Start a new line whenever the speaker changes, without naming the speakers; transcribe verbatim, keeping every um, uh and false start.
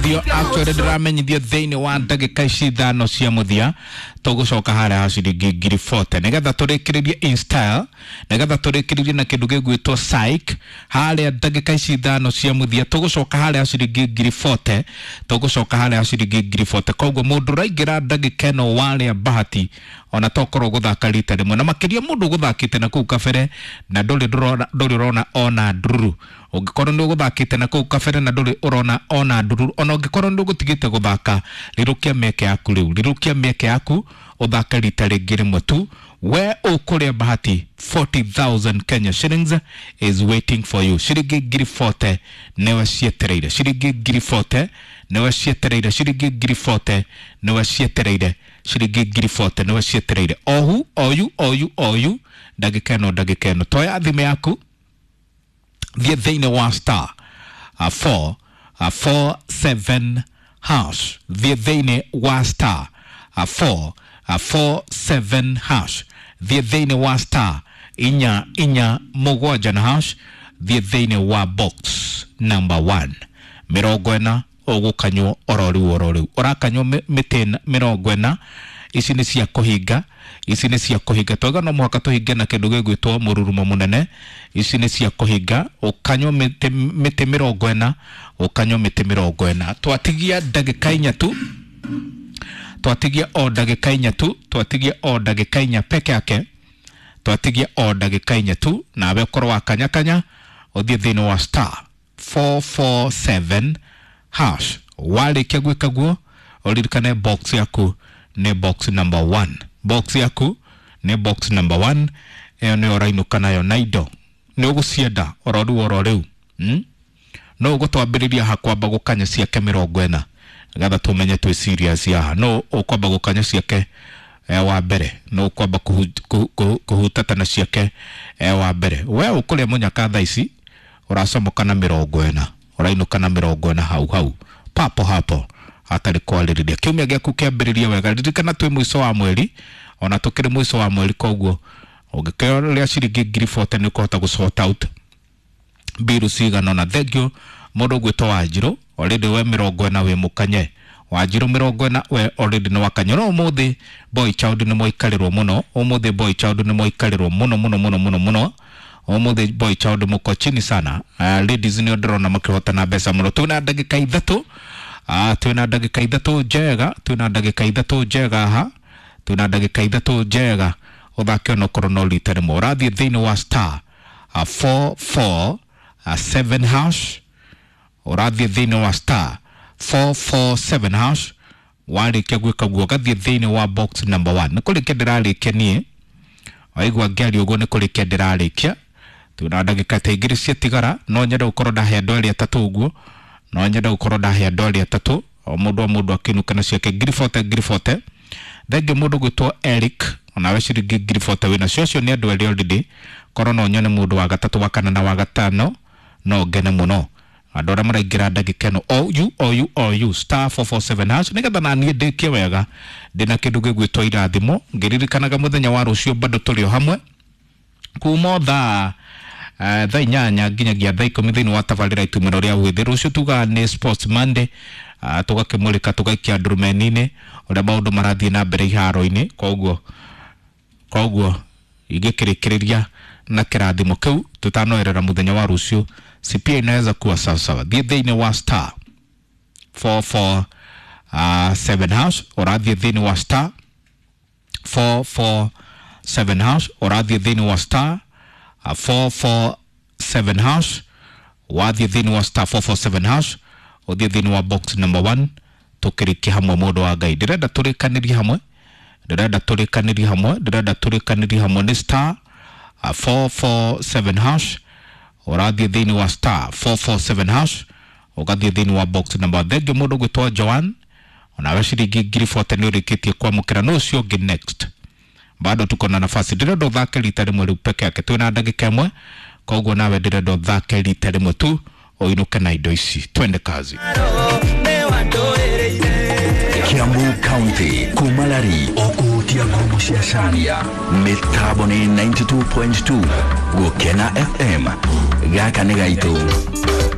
Actually ndĩramenyithio thĩinĩ wa ndagĩka ici ithano cia mũthia tũgũcoka harĩa ha ciringi ngiri forty nĩgetha tũrĩkĩrĩrie in style, nĩgetha tũrĩkĩrĩrie na kĩndũ gĩgwĩtwo psych. Harĩa ndagĩka ici ithano cia mũthia tũgũcoka harĩa ha ciringi ngiri forty, tũgũcoka harĩa ha ciringi ngiri forty. Koguo mũndũ ũraingĩra ndagĩka ĩno warĩa bahati ona tokorwo gũthaka rita rĩmwe, na makĩria mũndũ ũgũthakĩte na kũu kabere na ndũrĩ ndũrona ndũrĩ ũrona ona ndururu. Ũngĩkorwo nĩ ũgũthakĩte na kũu kabere na ndũrĩ ũrona ona ndururu, ona ũngĩkorwo nĩ ũgũtigĩte gũthaka, rirũkia mĩeke yaku rĩu, rirũkia mĩeke yaku ũthake rita rĩngĩ rĩmwe tu. We ũkũrĩa bahati, forty thousand Kenya shillings is waiting for you. Ciringi ngiri forty nĩwe cietereire, ciringi ngiri forty nĩwe cietereire, ciringi ngiri forty nĩwe cietereire, ciringi ngiri forty nĩwe cietereire. Ohu oyu oyu oyu ndagĩka ĩno, ndagĩka ĩno toya thimũ yaku, thiĩ thĩinĩ wa star uh, four uh, four seven hash, thiĩ thĩinĩ wa star uh, four uh, four seven hash, thiĩ thĩinĩ wa star inya inya mũgwanja na hash, thiĩ thĩinĩ wa box number one. Mĩrongo ĩna ũgũkanywo oro rĩu oro rĩu, ũrakanywo mĩtĩ mĩrongo ĩna. Ici nĩ cia kũhinga, ici nĩ cia kũhinga. Twauga no mũhaka tũhinge na kĩndũ gĩgwĩtwo mũrurumo mũnene. Ici nĩ cia kũhinga, ũkanywo mĩtĩ mĩtĩ mĩrongo ĩna, ũkanywo mĩtĩ mĩrongo ĩna. Twatigia ndagĩka inya tu, twatigia o ndagĩka inya tu, twatigia o ndagĩka inya peke yake, twatigia o ndagĩka inya tu. Nawe ũkorwo wakanyakanya ũthiĩ thĩinĩ wa star four four seven hash. Warĩkia gwĩka guo, ũririkane box yaku nĩ box number one, box yaku nĩ box number one. Ĩyo nĩyo ũrainũka nayo na indo nĩ ũgũcienda oro rĩu oro rĩu, hmm? No ũgũtwambĩrĩria ha kwamba gũkanya ciake mĩrongo ĩna nĩgetha tũmenye twĩ serious haha. No ũkwamba gũkanya ciake eh, wa mbere, no ũkwamba kũhutata na ciake eh, wa mbere. We ũkũrĩa mũnyaka thaa ici ũracomoka na mĩrongo ĩna, ũrainũka na mĩrongo ĩna hau hau papo hapo hatarĩ kwarĩrĩria. Kiumia gĩaku kĩambĩrĩria wega. Ririkana twĩ mũico wa mweri, ona tũkĩrĩ mũico wa mweri, koguo ũngĩkĩrĩa ciringi ngiri forty nĩ ũkũhota gũ sort out mbiru cigana ũna. Thank you mũndũ ũgwĩtwo Wanjirũ, already we mĩrongo ĩna wĩ mũkanye. Wanjirũ mĩrongo ĩna we already nĩ wakanye. No ũmũthĩ boy child nĩ mwaikarĩrwo mũno, ũmũthĩ boy child nĩ mwaikarĩrwo mũno mũno mũno mũno mũno. Ũmũthĩ boy child mũko chini sana. Uh, ladies nĩo ndĩrona makĩhotana mbeca mũno. Twĩna ndagĩka ithatũ, uh, twĩna ndagĩka ithatũ njega, twĩna ndagĩka ithatũ njega haha, twĩna ndagĩka ithatũ njega ũthake onokorwo no rita rĩmwe. Ũrathiĩ thĩinĩ wa star uh, four four uh, seven hash, ũrathiĩ thĩinĩ wa star four four seven hash. Warĩkia gwĩka guo ũgathiĩ thĩinĩ wa box number one. Nĩ kũrĩkia ndĩrarĩkia niĩ, waigua ngĩaria ũguo nĩ kũrĩkia ndĩrarĩkia. Twĩna ndagĩka ta igĩrĩ ciatigara, no nyende gũkorwo ndahe andũ erĩ atatũ ũguo, no nyende gũkorwo ndahe andũ erĩ atatũ, o mũndũ o mũndũ akĩinũka na ciake ngiri forty ngiri forty. Thengiũ mũndũ gwĩtwo Eric, onawe ciringi ngiri forty wĩnacio. Acio nĩ andũ erĩ already, korwo no nyone mũndũ wa gatatũ wa kana na wa gatano no ngene mũno. Andũ arĩa maraingĩra ndagĩka ĩno o u o u o u star four four seven hash, nĩgetha na niĩ ndĩkie wega ndĩna kĩndũ gĩgwĩtwo irathimo, ngĩririkanaga mũthenya wa rũciũ bado tũrĩ o hamwe kuma o thaa uh, thaa inyanya nginyagia thaa ikũmi thĩinĩ wa tabarĩra itumĩro rĩa wĩthĩ. Rũciũ tugaga nĩ Sports Monday, uh, tũgakĩmũrĩka tũgaikia ndurumeni-inĩ ũrĩa maũndũ marathiĩ na mbere iharo-inĩ. Koguo koguo ingĩkĩrĩkĩrĩria na kĩrathimo kĩu tũtanoerera mũthenya wa rũciũ, C P A inaweza kuwa sawasawa. Thiĩ thĩinĩ wa star four four uh, seven hash, ũrathiĩ thĩinĩ wa star four four seven hash, ũrathiĩ thĩinĩ wa star uh, four four seven hash, wathiĩ thĩinĩ wa star four four seven hash, ũthiĩ thĩinĩ wa box number one, tũkĩrĩkie hamwe mũndũ wa Ngai. Ndĩrenda tũrĩkanĩrie hamwe, ndĩrenda tũrĩkanĩrie hamwe, ndĩrenda tũrĩkanĩrie hamwe nĩ star uh, four four seven hash, ũrathiĩ thĩinĩ wa star four four seven hash, ũgathiĩ thĩinĩ wa box number. Thengiũ mũndũ gwĩtwo Joan, onawe ciringi ngiri forty nĩ ũrĩkĩtie kwamũkĩra. No ũcio ũngĩ next, bado tuko na nafasi. Ndĩrenda ũthake rita rĩmwe rĩu peke yake, twĩna ndagĩka ĩmwe, koguo nawe ndĩrenda ũthake rita rĩmwe tu ũinũke na indo ici. Twende kazi.
Kiambu County kumalari okuhutia ngumu cia Caria mĩtambo nĩ ninety-two point two Gũkena F M gaka nĩ gaitũ.